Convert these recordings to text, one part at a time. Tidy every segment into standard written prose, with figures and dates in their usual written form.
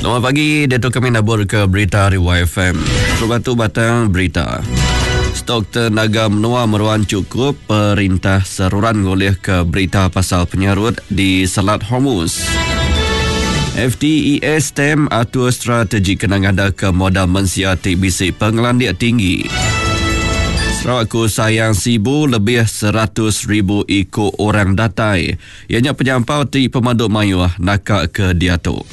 Selamat pagi, diatu kami nabur ke berita ari YFM. Terubah tu batang berita. Stok tenaga menua meruan chukup, perintah seruran ngulihka berita pasal penyarut di Selat Hormuz. FTES STEM atur strategi kena ngadaka modal mensia ti bisi pengelandik tinggi. Sarawak ku sayang Sibu lebih 100,000 iku orang datai. Iya nya penyampau ti pemadu mayuh naka ke diatu.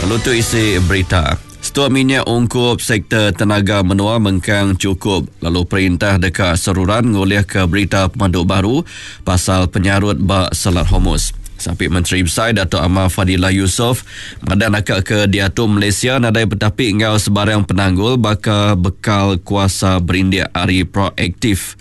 Lalu tu isi berita. Stok minyak ungkup sektor tenaga menua mengkang chukup lalu perintah deka seruran ngulihka berita pemadu baru pasal penyarut ba Selat Hormuz. Sapit Menteri Besai Datuk Amar Fadillah Yusof madah naka ke diatu Malaysia nadai betapi enggau sebarang penanggul baka bekal kuasa berindik ari proaktif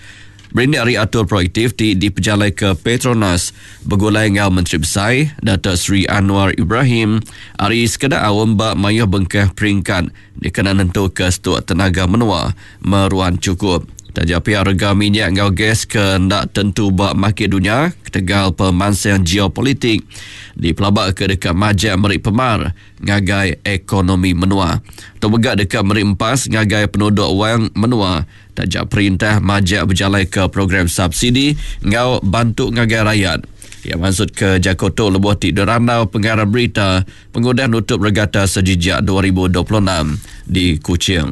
berindik ari atur proaktif ti dipejalaika Petronas begulai enggau Menteri Besai Datuk Seri Anwar Ibrahim ari sekeda aum ba mayuh bengkah peringkat dikena nentuka stuk tenaga menua meruan chukup. Taja pia rega minyak enggau gas ke enda tentu ba makit dunya ketegal pemansang geopolitik dipelabaka deka majak meri pemar ngagai ekonomi menua. Tu mega deka meri empas ngagai penuduk wang menua taja perintah majak bejalaika program subsidi enggau bantu ngagai rayat. Iya mansutka jaku tu lebuh ti dirandau pengarang berita pengudah nutup Regata Sejijak 2026 di Kuching.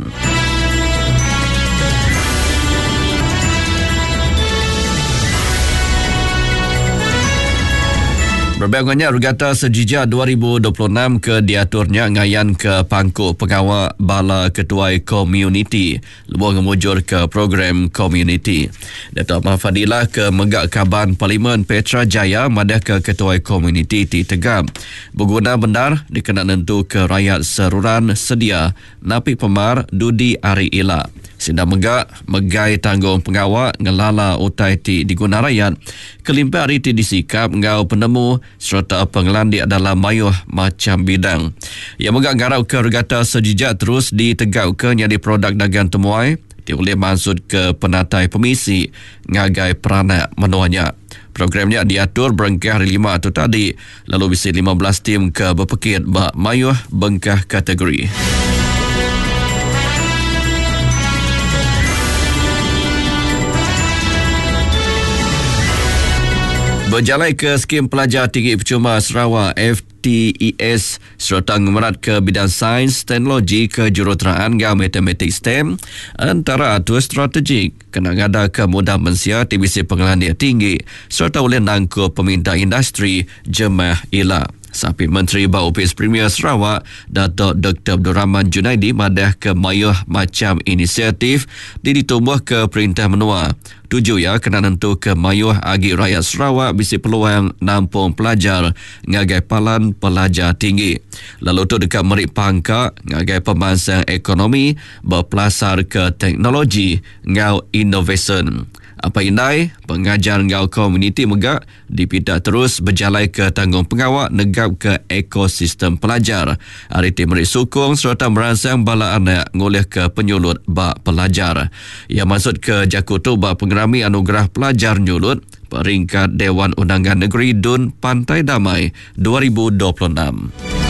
Berbanding enggau nya, Regata Sejijak 2026 ke diatur nya ngayanka pangku pengawa bala ketuai komuniti lebuh ngemujurka program komuniti. Datuk Amar Fadillah ke mega Kaban Parlimen Petra Jaya madahka ketuai komuniti ti tegap beguna bendar dikena nentuka rayat seruran sedia napi pemar dudi hari ila. Sida mega megai tanggungpengawa ngelala utai ti diguna rayat kelimpah ari ti disikap enggau penemu sereta pengelandik dalam mayuh macham bidang. Iya mega ngarapka regata sejijak terus ditegauka nyadi produk dagang temuai ti ulih mansutka penatai pemisi ngagai peranak menua nya. Program nya diatur berengkah hari Lima tu tadi lalu bisi 15 tim ke bepekit ba mayuh bengkah kategori. Bejalai ke Skim Pelajar Tinggi Percuma Sarawak FTES sereta ngemeratka bidang sains, teknologi, kejuruteraan enggau matematik STEM entara atur strategik kena ngadaka mudah mensia ti bisi pengelandik tinggi sereta ulih nangkup peminta industri jemah ila. Sapit Menteri ba Opis Premier Sarawak, Datuk Doktor Abdul Rahman Junaidi madahka mayuh macham inisiatif ti ditumbuhka perintah menua. Tuju iya kena nentuka mayuh agi rayat Sarawak bisi peluang nampung pelajar ngagai palan pelajar tinggi lalu tu deka meri pangka ngagai pemansang ekonomi bepelasarka teknologi enggau inovasyen. Apai indai, pengajar enggau komuniti mega dipinta terus bejalaika tanggungpengawa negapka ekosistem pelajar ari ti meri sukung sereta meransang bala anak ngulihka penyulut ba pelajar. Iya mansutka jaku tu ba Pengerami Anugerah Pelajar Nyulut Peringkat Dewan Undangan Negeri dun Pantai Damai 2026.